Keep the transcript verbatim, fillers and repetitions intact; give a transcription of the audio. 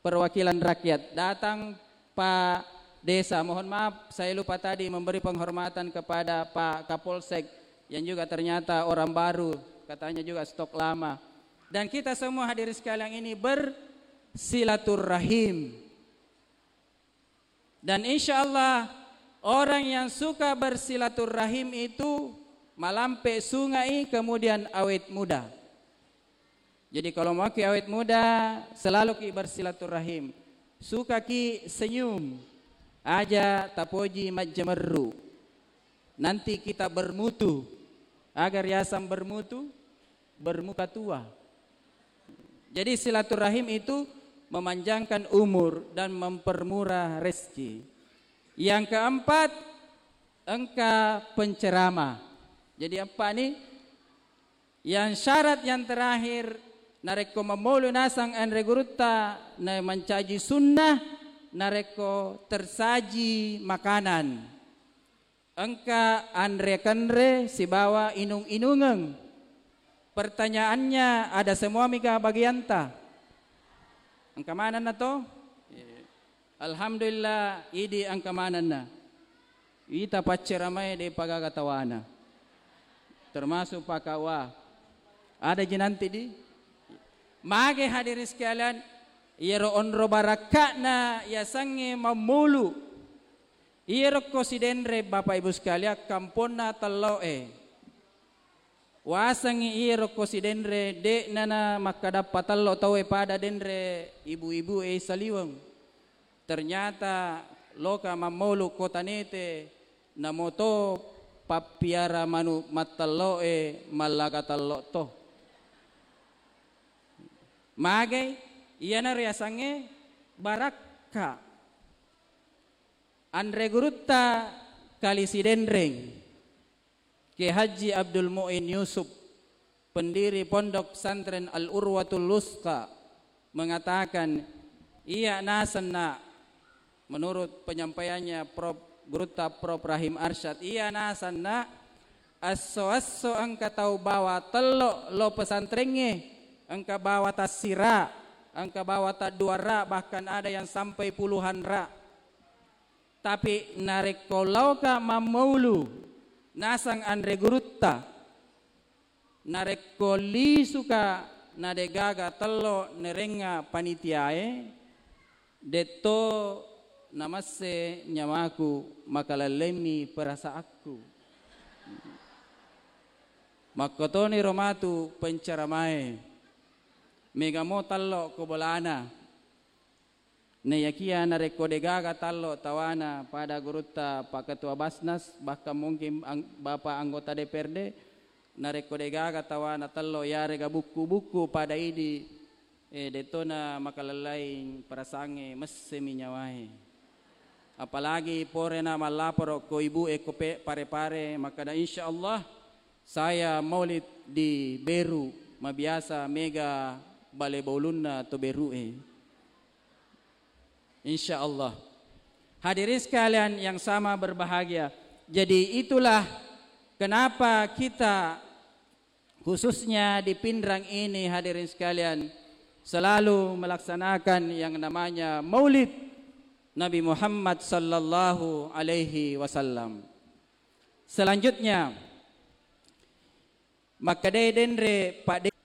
perwakilan rakyat, datang Pak Desa. Mohon maaf, saya lupa tadi memberi penghormatan kepada Pak Kapolsek yang juga ternyata orang baru, katanya juga stok lama. Dan kita semua hadirin sekalian ini bersilaturahim. Dan insya Allah, orang yang suka bersilaturahim itu malampe sungai, kemudian awet muda. Jadi, kalau mau ki awet muda, selalu ki bersilaturahim. Suka ki senyum, aja tapoji majjemerru. Nanti kita bermutu. Aga riaseng bermutu, bermuka tua. Jadi, silaturahim itu memanjangkan umur dan mempermurah rezeki. Yang keempat, engka penceramah. Jadi, empat nih, yang syarat yang terakhir, narekko mammolu nasang anre gurutta, na mancaji sunnah, narekko tersaji makanan. Engka anre-kanre sibawa inung-inungeng. Pertanyaannya, ada semua mika bagianta? Engka manenna to? Alhamdulillah, idi engka manenna. Ita pacceramae de pagaga tawana. Termasuk Pak K U A. Ada ji nanti di? Mage hadirin sekalian, iyaro onro barakka'na yasengnge mammulu. Iyaro ko sidenre, Bapak Ibu sekalian, kamponna tello'e. Wasengngi iyaro ko sidenre, de'na na makkadappa tello tauwe pada denre ibu-ibu e saliweng. Ternyata loka mammolu kota Nete, namoto pappiara manu mattello'e mallaga tello to. Magai, iyana riasengnge barakka. Anre gurutta Kali Sidenreng, Kiai Haji Abdul Muin Yusuf, pendiri Pondok Pesantren Al-Urwatul Wusqa, mengatakan, iya nasenna, menurut penyampaiannya Prof, Gurutta Prof Rahim Arsyad, iya nasenna, esso-esso engka tau bawa tello lo pesantrengnge, engka bawa tassira, engka bawa tadduara, bahkan ada yang sampai puluhan ra. Tapi narekko laoka mammaulu nasang anre gurutta, narekko lisuka nadegaga tello nerengnga panitiae, detto namasse nyawaku, makalallemmi perasaakku. Makkotoniro matu penceramae, megamo tello ko bolana. Naiyakiya narekko degaga tallo tawana pada gurutta Pak Ketua Basnas, bahkan mungkin ang-, Bapak anggota D P R D, narekko degaga tawana tello yarega bukku-bukku pada idi, eh, dettona makalellai perasangnge, messemi nyawae. Apalagi porena mallaporo ko ibu e ko pe-, pare-pare, makkada, "Insya Allah saya maulid di Beru, mabiasa mega bale baulunna to Beru e." Insya Allah. Hadirin sekalian yang sama berbahagia. Jadi itulah kenapa kita khususnya di Pinrang ini, hadirin sekalian, selalu melaksanakan yang namanya Maulid Nabi Muhammad sallallahu alaihi wasallam. Selanjutnya, makkeda denre Pak De-,